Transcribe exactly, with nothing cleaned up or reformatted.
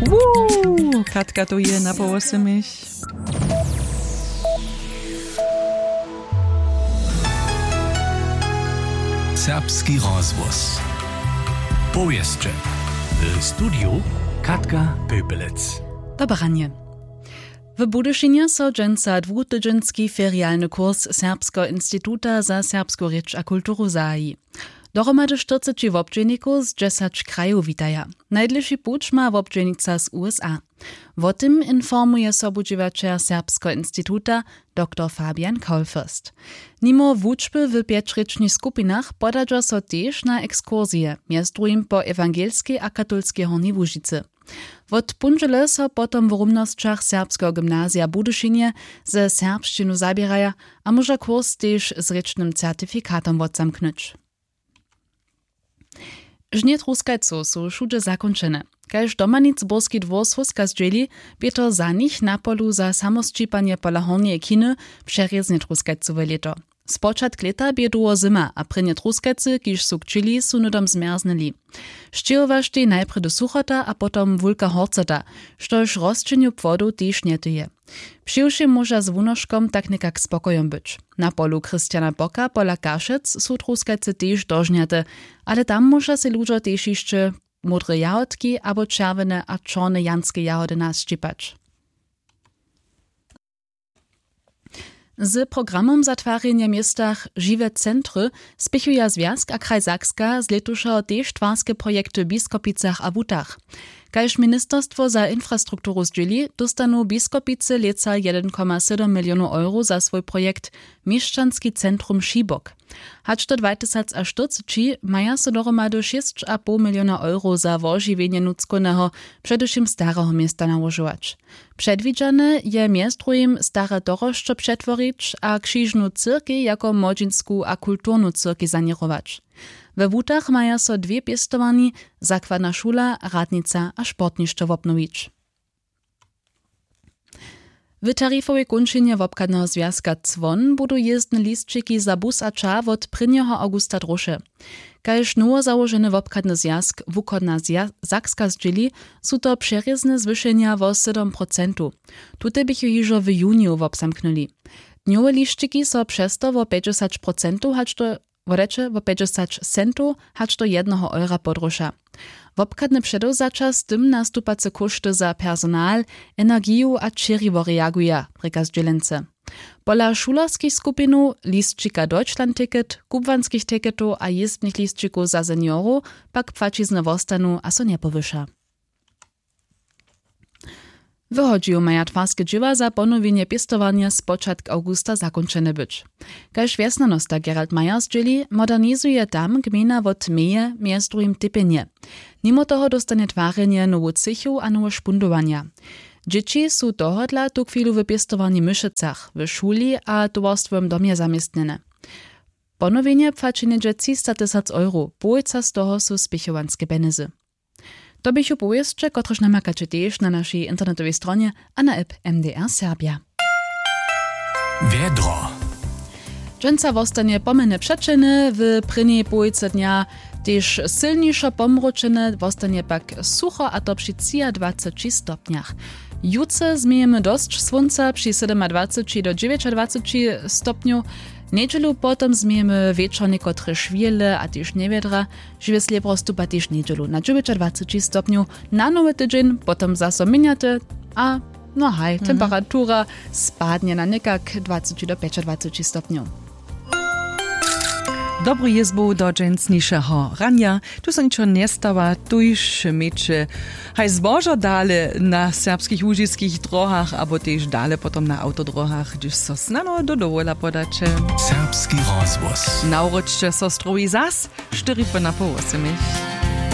Woo, katka to je na połosymich. Serbski rozhłos. Powěsće. W studiju Katka Pöpelec. Dobre ranje. W Budyšinje so dźensa dwutydźenski ferialny kurs Serbskeho instituta za serbsku rěč a kulturu zahaji. Dohromady štyrceći wobdźělnikow z dźesać krajow witaja. Najdlěši puć ma wobdźělnica z usa. Wo tym informuje sobudźěłaćer Serbskeho instituta, doktor Fabian Kaulfürst. Nimo wučby w pjećrěčnych skupinach podadźa so tež na ekskursije, mjez druhim po ewangelskej a katolskej Hornjej Łužicy. Wot póndźele so potom w rumnosćach Serbskeho gymnazija w Budyšinje ze serbšćinu zaběraja a móža kurs tež z rěčnym certifikatom wotzamknyć. Žnje truskajcow su wšudźe zakónčene. Kaž domanic burski dwór słóska zdźěli, bě to za nich na polu za samosćipanje pola hornjeje chiny přerězne truskajcowe lěto. Spočatk lěta bě dołho zyma a prěnje truskajcy, kiž su kćěli, su hnydom zmjerznyli. Sćěhowaštej najprjedy suchota a potom wulka horcota, štož rosćenju płodow tež njetyje. Přiwšěm móža z wunoškom tak někak spokojom być. Na polu christiana bocka pola kašec su truskajcy tež dožnjate, ale tam móža sej ludźo tež hišće módre jahodki abo čerwjene a čorne janske jahody nasćěpać. Z programom za twarjenje w městach žiwe centry spěchuja zwjazk a kraj sakska z lětušeho tež twarske projekty w biskopicach a wutach. Kaž ministerstwo za infrastrukturu zdźěli, dóstanu biskopicy lětsa jedyn koma sydom milionow euro za swój projekt měšćanski centrum šibok. Hač do dwatysacštyrceći maja so dohromady šěsć a poł miliona euro za wožiwjenje nutřkowneho, předewšěm stareho města nałožować. Předwidźane je mjez druhim stare torosćo přetworić a křižnu cyrkej jako młodźinsku a kulturnu cyrkej saněrować. We wutach maja so dwě pěstowarni, zakładna šula, radnica a sportnišćo wobnowić. W tarifowej kónčinje wobchadneho zwjazka cwon budu jězdne lisćiki za bus a ča wot prěnjeho awgusta dróše. Kaž nowozałoženy wobchadny zwjazk wuchodna Zja- sakska zdźěli, su to přerězne zwyšenja wo sydom procentow. Tute běchu hižo w juniju wobzamknyli. Dnjowe lisćiki so přez to wo pjećdźesać procentow hač do wodeće wo pjećdźesać centow hač do jedneho eura podróša. Wobchadne předewzaća z tym nastupace kóšty za personal, energiju a ćěriwo reaguja, rěka zdźělency. Pola šulerskich skupinow, lisćika deutschland ticket, kubłanskich ticketow a jězbnych lisćikow za seniorow pak płaćizny wostanu a so njepowyša. Wyhodźił maja twarske dźěła za ponowjenje pěstowarnje spočatk awgusta zakónčene być. Kaž wjesnjanosta gerald mayer zdźěli, modernizuje tam gmejna wot meje mjez druhim tepjenje. Nimo toho dóstanje twarjenje nowu třěchu a nowe špundowanja. Dźěći su tohodla tuchwilu w pěstowarni w myšecach, w šuli a towarstwowym domje zaměstnjene. Ponowjenje płaći něhdźe třista tysac euro, połojca z toho su spěchowanske pjenjezy. To běchu powěsće, kotrež namakaće tež na našej internetowej stronje a na app mdr serbja. Wjedro. Dźensa wostanje pomjene přećelne, w prěnjej połojce dnja tež sylnišo pomróčene, wostanje pak sucho, a to při třiadwaceći stopnjach. Jutře změjemy dosć słónca při sydomadwaceći do dźewjećadwaceći stopnjow. Njedźelu potom změjemy wječor někotre šwěle a tež njewjedra. Žiwe slěbro stupa tež njedźelu na dźewjećadwaceći stopnjow, na nowy tydźeń potom zaso měnjate. A no haj, temperatura spadnje na někak dwaceći do pjećadwaceći stopnjow. Dobru jězbu do dźensnišeho ranja. Tu so ničo njestawa, tuž měće haj zbožo dale na serbskich łužiskich drohach abo tež dale potom na awtodrohach, hdyž so snano do dowola podaće. Serbski rozhłos. Nawróćće so strowi zas štyri po napoł wosymich.